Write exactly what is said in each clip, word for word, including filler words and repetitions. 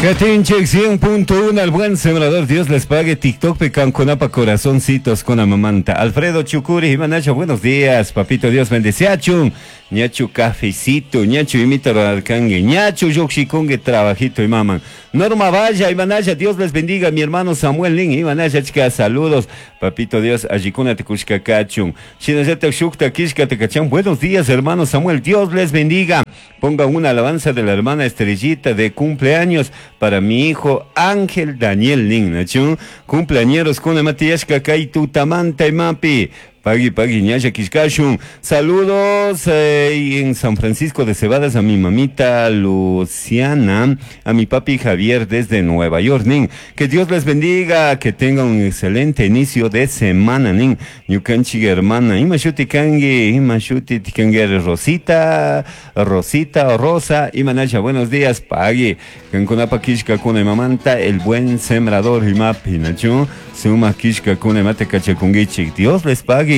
Katinchik cien punto uno al Buen Sembrador. Dios les pague. TikTok kankunapa corazoncitos con mamanta. Alfredo Chucuri, Imanacha, buenos días. Papito Dios bendeciachun. Ñachu cafecito, ñachu imita rurarkangue, ñachu llukshikungue trabajito y maman. Norma Valla, Imanaya, Dios les bendiga, mi hermano Samuel Lin, Imanaya, chica, saludos. Papito Dios, allikuna te kachun. Shinallata shukta kishka te. Buenos días, hermano Samuel, Dios les bendiga. Ponga una alabanza de la hermana Estrellita de cumpleaños para mi hijo Ángel Daniel Nin, nachun. Cumpleañeros con Matías Kakay tutamanta imapi. Pagui, pagui, ñalla kishkashun. Saludos eh, en San Francisco de Cebadas a mi mamita Luciana, a mi papi Javier desde Nueva York, nin. Que Dios les bendiga, que tengan un excelente inicio de semana, nin. Ñukanchi hermana, ima shuti kangi, ima shuti kangi Rosita, Rosita, Rosa, imanacha, buenos días, pagui. Kankunapa kishka kuna mamanta, El Buen Sembrador, imapi, nachu, suma kishka kuna mate kachakungichik. Dios les pague.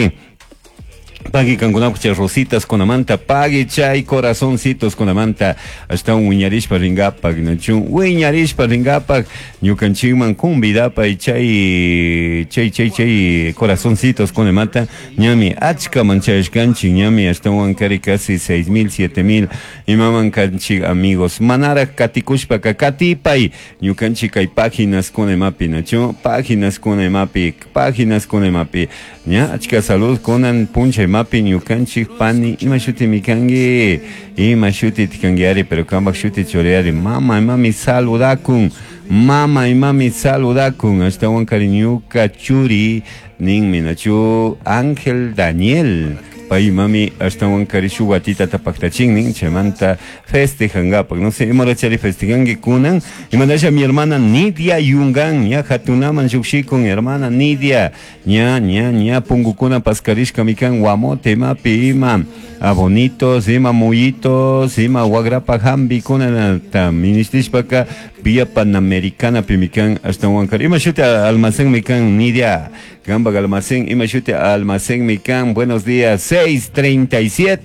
Pagui kankunapaq rositas kunamanta, pagui chay corazoncitos kunamanta, hasta un wiñarishpa ringapak, nachun wiñarishpa ringapak ñukanchikman convidapay chay chay chay chay corazoncitos kunamanta. Ñami achka manchashkanchik, ñami ashtawan kari casi seis mil, siete mil imaman kanchik amigos. Manara katikushpaka katipay ñukanchik kay páginas kunamapi, nachun páginas kunamapi, páginas kunamapi. Ña achka salud kunan puncha imapi ñukanchik pani, ima shuti mikangi, ima shuti tikangi, pero kambak shuti churiari. Mama imami saludakun, mama imami saludakun, ashtawan kari ñuka churi ninmi, nachu, Ángel Daniel, pay mami ashtawan kari shuk watita tapaktachin nin, chaymanta festejangapak, no sé imara chari festejangi kunan. Imanasha mi hermana Nidia Yungan, ña hatunaman llukshikun hermana Nidia, ña ña ña pungukuna paskarishka mikan, guamote imapi ima abonitos, ima muyitos, ima wagrapa hambi kunata minishtishpaka Vía Panamericana pimikan. Ashtawan kari ima shuti almacén mikan, Nidia, kanpak almacén, ima shuti almacén mikan? Buenos días, seis treinta y siete.